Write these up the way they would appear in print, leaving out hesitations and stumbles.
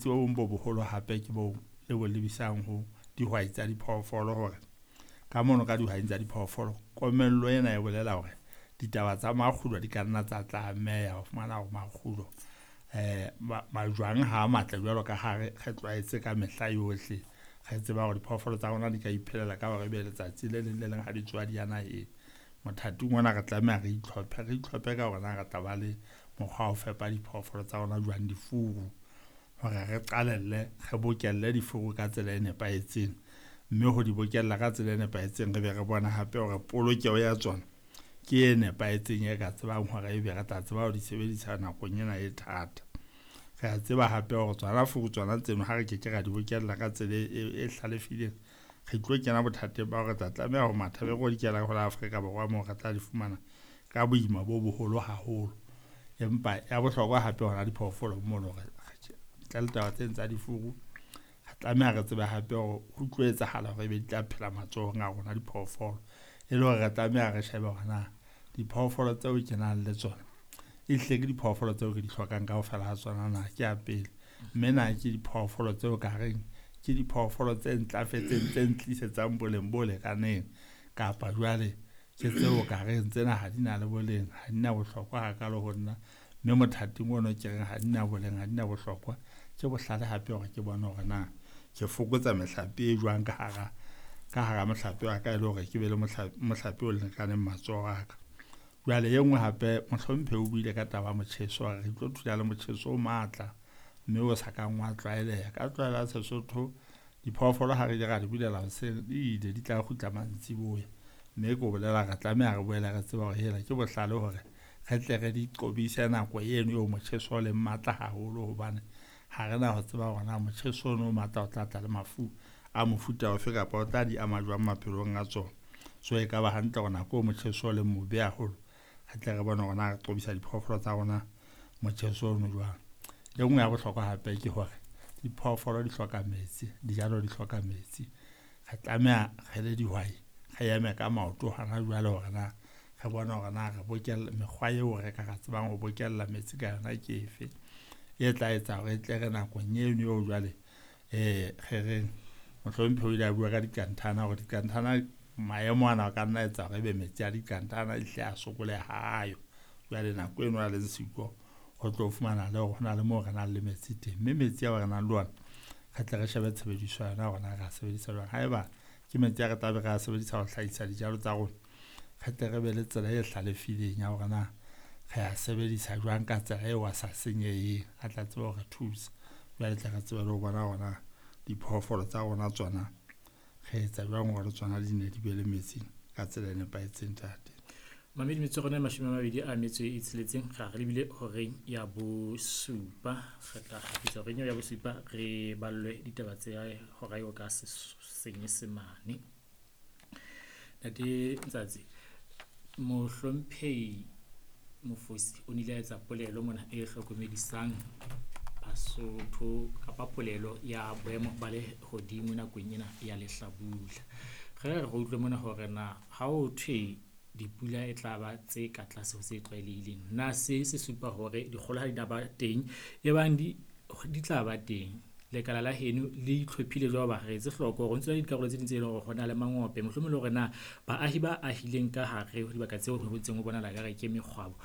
Bo bong bo boholo hape ke bo le bo lebisang ho dihwai tsa diphoofolo hore ka mono ka dihwaing tsa diphoofolo, komello ena e bolela hore ditaba tsa makgulo di ka nna tsa tlameha ho fumana hore makgulo majwang ha a matle jwalo ka ha re tlwaetse ka mehla yohle. Re tseba hore diphoofolo tsa rona di ka iphelela ka hore ebe letsatsi le leng le leng ha di tsoha di ya naheng. Mothating ona re tlameha re itlhophe, re itlhophe ka hore na re tla ba le mokgwa wa ho fepa diphoofolo tsa rona jwang difuru hore re qalelle re bokelle difuru ka tsela e nepahetseng. Mme ho di bokella ka tsela e nepahetseng, re be re bona hape hore polokeho ya tsona ke e nepahetseng e ka tsebang hore ebe re tla tseba ho di sebedisa nakong ena e thata. Re a tseba hape hore tsona furu tsona tseno ha re keke ra di bokella ka tsela e hlalefileng, re tlo kena bothateng ba hore re tla tlameha ho matha be re dikela ho la Afrika Borwa moo re tla di fumana ka boima bo boholo haholo. Empa ya bohlokwa hape hona diphoofolo mono hore ntle le taba tseno tsa difuru, re tlameha re tsebe hape hore ho tlo etsahala hore ebe di tla phela matsohong a rona diphoofolo. E le hore re tlameha re shebe hore na diphoofolo tseo ke nang le tsona ehlile ke diphoofolo tseo ke di hlokang kaofela ha tsona na, ke ya pele. Mme na ke diphoofolo tseo ka reng ke diphoofolo tse ntlafetseng, tse ntlisetsang boleng bo lekaneng, kapa jwale ke tseo ka reng tsena ha di na le boleng, ha di na bohlokwa hakalo ho nna. Mme mothating ono ke reng ha di na boleng, ha di na bohlokwa, ke bohlale hape hore ke bone hore na ke fokotsa mehlape e jwang ka hara mohlape wa ka e le hore ke be le mohlape o lekaneng matsoho a ka. Jwale e nngwe hape mohlomphehi o buile ka taba ya motjheso hore re tlo thula le motjheso o matla, mme o sa kang wa tlwaeleha. Ka tlwaelo ya Sesotho, diphoofolo ha re ile ra di bulela hoseng, di ile di tla kgutla mantsiboya. Mme ke o bolela re tlameha re boele re tseba hore hela ke bohlale hore re tle re di qobise nako eno eo motjheso o leng matla haholo, hobane ha re na ho tseba hore na motjheso ono o matla o tla tla le mafu a mofuta ofe kapa o tla di ama jwang maphelong a tsona. So e ka ba hantle hore nako eo motjheso o leng mobe haholo, re tle re bone hore na re qobisa diphoofolo tsa rona motjheso ono jwang. E nngwe ya bohlokwa hape ke hore diphoofolo di hloka metsi, dijalo di hloka metsi. Re tlameha re le dihwai re eme ka maoto hona jwale hore na re bone hore na re bokella mekgwa eo re ka ra tsebang ho bokella metsi ka yona ke efe, e tla etsa hore e tle re nakong eno eo jwale re reng mohlomphehi o ile a bua ka dikanthana hore dikanthana maemo ana a ka nna etsa hore ebe metsi a dikanthana ehlile a sokoleha ha ayo. Jwale nako eno a leng siko ho tlo fumana le hore ho na le moo re nang le metsi teng, mme metsi ao re nang le ona re tle re shebe tshebediso ya yona hore na re a sebedisa jwang. Haeba ke metsi a re tlabe re a sebedisa ho hlahisa dijalo tsa rona, re tle re be le tsela e hlalefileng ya hore na re a sebedisa jwang ka tsela eo a sa senyeheng, a tla tseba ho re thusa. Jwale tle re tsebe le ho bona hore na diphoofolo tsa rona tsona re etsa jwang hore tsona di ne di be le metsi ka tsela e nepahetseng ntate. Mamedi metso rona 26 ra re lebile horeng ya bosupa, re tla kgutla horeng ya bosupa re ballwe ditaba tse hora eo ka Senyesemane. Ntate Ntsatsi, mohlomphehi Mofosi o nile a etsa polelo mona e hlokomedisang Basotho kapa polelo ya boemo ba lehodimo nakong ena ya lehlabula. Re re utlwe mona hore na ha ho thwe dipula e tla ba tse ka tlase ho tse tlwaelehileng, na se se supa hore dikgolo ha di na ba teng, e bang di tla ba teng, lekala la heno le itlhophile jwang hoba re etse hloko hore ho ntso na le dikarolo tse ding tse leng hore ho na le mangope, mohlomong le hore na baahi ba ahileng ka hare ho dibaka tseo ho ntseng ho bonahala ekare ke mekgwabo,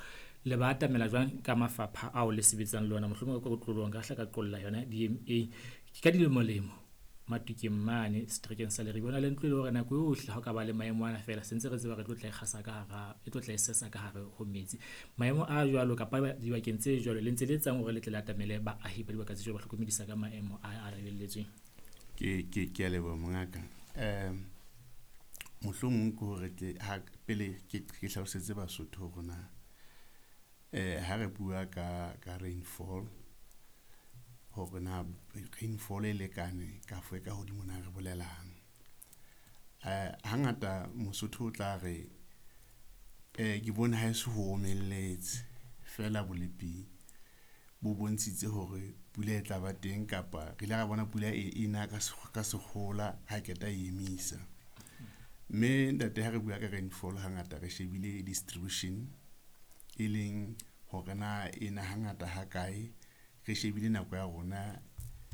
le ba atamela jwang ka mafapha ao le sebetsang le ona, mohlomong ka kotloloho nka hla ka qolla yona DMA ke ka dilemo-lemo Matukeng mane seterekeng sa Leribe. Ho na le ntlo e le hore nako yohle ha o ka ba le maemo ana feela se ntse re tseba re tlo tla e kgasa ka hara, e tlo tla e sesa ka hare ho metsi. Maemo a jwalo kapa dibakeng tse jwalo le ntse le etsang hore le tle le atamele baahi ba dibaka tse jwalo, ba hlokomedisa ka maemo a lebelletsweng? Ke a leboha mongaka. Mohlomong ke hore ke ha pele ke hlalosetse Basotho hore na ha re bua ka rainfall hore na rainfall e lekane kafo e ka hodimo na re bolelang. Hangata Mosotho o tla re ke bone ha eso ho omelletse feela bolepi bo bontshitse hore pula e tla ba teng kapa re ile ra bona pula e na ka sekgohola ha qeta e emisa. Mme ntate ha re bua ka rainfall hangata re shebile distribution e leng hore na ena hangata ha kae, re shebile nako ya rona